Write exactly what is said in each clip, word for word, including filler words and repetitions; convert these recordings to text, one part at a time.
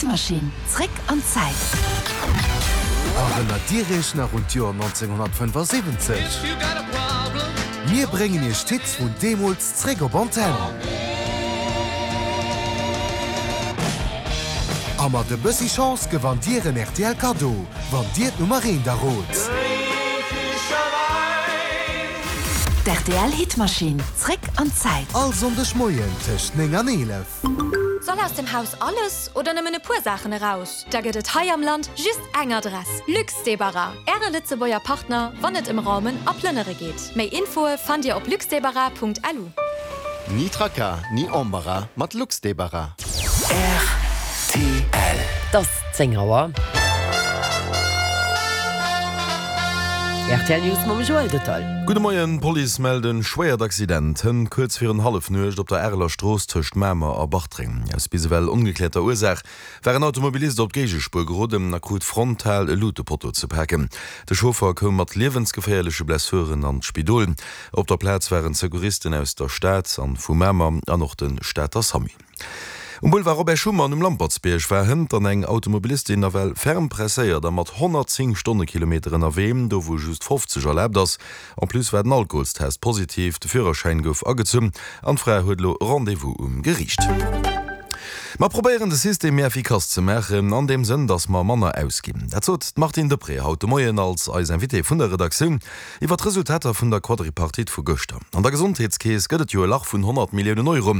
D'Maschinn, zréck an d'Zäit. Erënnert Dir Iech nach un d'Joer nonzénghonnertfënnefasiwwenzeg? Mir bréngen Iech d'Hits vun deemools zréck op Antenn. A mat e bëssi Chance gewannt Dir en R T L Kaddo, wann Dir d'Nummer eent errot. D' R T L Hitmaschinn, zréck an d'Zäit. All Sonndeg Moien tëscht néng an eelef. Soll aus dem Haus alles oder nëmmen e puer Saachen eraus? Da gëtt et hei am Land just eng Adress: Luxdébarras, Äre Lëtzebuerger Partner, wann et ëm Raumen a Plënnere geet. Méi Infoe fannt Dir op luxdébarras Punkt L U. Ni Tracas, ni Embarras mat Luxdébarras. R T L. Et ass zéng Auer. R T L News mam Joël Detail. Gudde Moien, D'Police mellt e schwéiert Accident hënt kuerz virun Hallefnuecht op der Areler Strooss tëscht Mamer a Bartreng. Aus bis ewell ongekläerter Ursaach war en Automobilist op d'Géigespuer geroden a krut frontal e Lutepotto ze paken. De Chauffer koum mat liewensgeféierleche Blessuren an d'Spidol. Op der Plaz waren Secouristen aus der Stad an vu Mamer an och de Stater Samu. Um Boulevard Robert Schuman um Lampertsbierg war hënt dann eng Automobilistin nawell ferm presséiert a mat honnertzéng Stonnekilometer ënnerwee, do wou just fofzeg erlaabt ass. En plus war den Alkoholstest positiv, de Führerschäin gouf agezunn an d'Fra huet elo Rendez-vous um Geriicht. Mer probéieren de System méi effikass ze maachen, an deem Sënn, datt mer manner ausginn. Dat sot d'Martine Deprez haut de Moien als eis Invitée vun der Redaktioun iwwer d'Resultater vun der Quadripartite vu gëschter. An der Gesondheetskeess gëtt et jo e Lach vun honnert Milliounen Euro.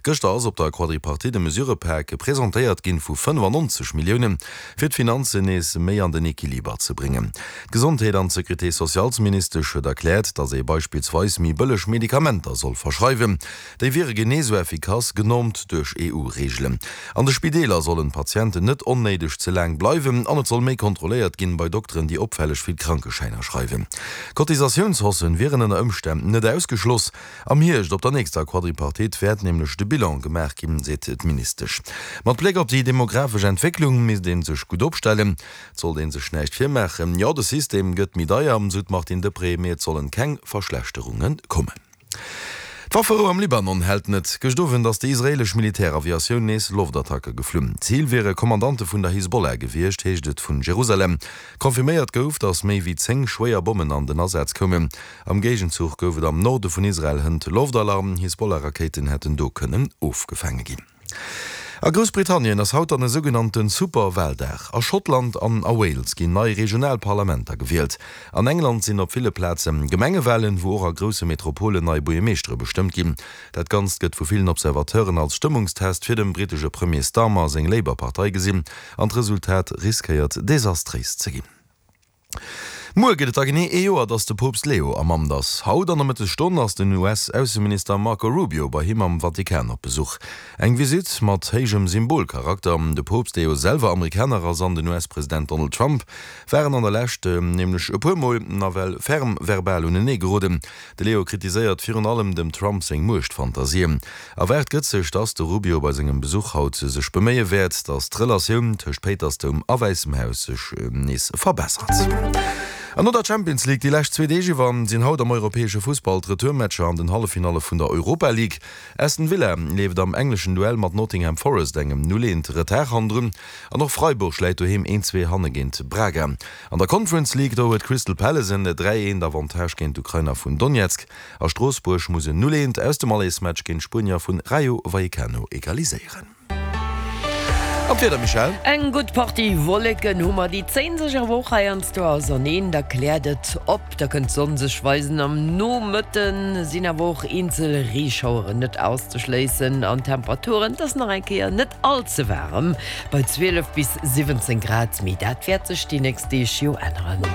Gëschter ass op der Quadripartite e Mesurëpak presentéiert ginn vu fënnefannonzeg Milliounen, fir d'Finanzen nees méi an den Equiliber ze bréngen. D'Gesondheet an d'Sécurité-sociales-Ministesch huet erkläert, datt ee beispillsweis méi bëlleg Medikamenter soll verschreiwen. Déi wiere genee sou effikass, genormt duerch E U-Reegelen. An de Spideeler sollen d'Patienten net onnéideg ze laang bleiwen an et soll méi kontrolléiert ginn bei Dokteren, déi opfälleg vill Krankeschäiner schreiwen. Cotisatiounshaussen wieren ënner Ëmstänn net ausgeschloss. Am Hierscht op der nächster Quadripartite wäert nämlech de Bilan gemaach ginn, seet d'Ministesch. Mat Bléck op déi demografesch Entwécklung misst ee sech gutt opstellen. Et sollt ee sech näischt virmaachen. Jo, de System gëtt méi deier, sou d'Martine Deprez, mee et sollen keng Verschlechterunge kommen. D'Wafferou am Libanon hält net. Gëscht Owend ass déi israeelesch Militäraviatioun nees Loftattacke geflunn. Zil wiere Kommandante vun der Hisbollah gewiescht, heescht et vun Jerusalem. Confirméiert gouf, datt méi wéi zéng schwéier Bommen an den Asaz koumen. Am Géigenzuch gouf et am Norde vun Israel hënt Loftalarm. Hisbollah-Rakéiten hätten do kënnen ofgefaange ginn. A Groussbritannien ass haut dann e sougenannte Superwaldag. A Schottland an a Wales ginn nei regional Parlamenter gewielt. An England sinn op ville Plaze Gemengewalen, wou och a grousse Metropolen nei Buergermeeschtere bestëmmt ginn. Dat Ganzt gëtt vu villen Observateuren als Stëmmungstest fir dem brittesche Premier Starmer seng Labour-Partei gesinn, an d'Resultat riskéiert desastréis ze ginn. Muer gëtt et da genee ee Joer, datt de Poopst Leo am Amt ass. Haut an der Mëttesstonn ass den U S-Ausseminister Marco Rubio bei him am Vatikan op Besuch. Eng Visitt mat héijem Symbolcharakter. De Poopst, dee jo selwer Amerikaner ass, an den U S-President Donald Trump waren an der Lescht nämlech e puer Mol nawell ferm verbal unenee geroden. De Leo kritiséiert virun allem dem Trump seng Muechtfantasien. Erwaart gëtt sech, datt de Rubio bei sengem Besuch haut sech beméie wäert, datt d'Relatioun tëscht Péitersdoum a Wäissem Haus sech nees verbessert. An no der Champions League déi lescht zwee Deeg iwwer sinn haut am europäesche Fussball d'Retourmatcher an den Halleffinalle vun der Europa League. Aston Villa leeft am engleschen Duell mat Nottingham Forest engem null eent Retard hannendrun an och Freiburg läit doheem een zwee hanne géint Braga. An der Conference League do huet Crystal Palace en dräi eent Avantage géint d'Ukrainer vun Donetsk a Stroossbuerg muss en null eent aus dem Allersmatch géint d'Spuenier vun Rayo Vallecano egaliséieren. An d'Wieder, Michèle? Eng gutt Partie Wolleken hu mer, déi zéien sech awer och heiansdo auserneen, da kläert et op, da kënnt d'Sonn sech weisen. Am Nomëtte sinn awer och eenzel Reeschaueren net auszeschléissen an d'Temperaturen, et ass nach eng Kéier net all ze waarem bei zwielef bis siwwenzéng Grad, mee dat wäert sech déi nächst Deeg jo änneren.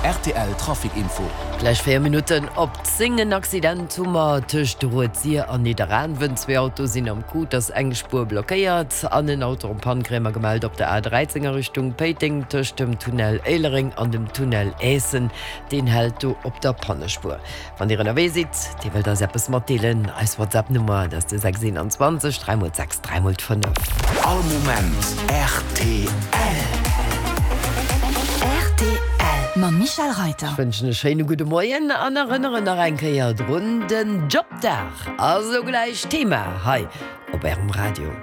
R T L Trafic Info. Gläich véier Minutten op zéng. En Accident hu mer tëscht Rued-Sir an Nidderaanwen. Zwee Autoe sinn am Coup, et ass eng Spuer blockéiert. An en Auto en panne kréie mer gemellt op der A dräizéng a Richtung Péiteng tëscht dem Tunnel Éilereng an dem Tunnel Aessen. Deen hält do op der Pannespuer. Wann Dir ënnerwee sidd, Dir wëllt eis eppes matdeelen, eis WhatsApp-Nummer, dat ass de sechs eenanzwanzeg dräi mol sechs dräi mol fënnef. All Moment R T L. R T L mam Michèle Reyter. Ech wënschen e schéine gudde Moien an erënneren nach eng Kéier drun, den Jobdag ass elo gläich Thema hei op Ärem Radio.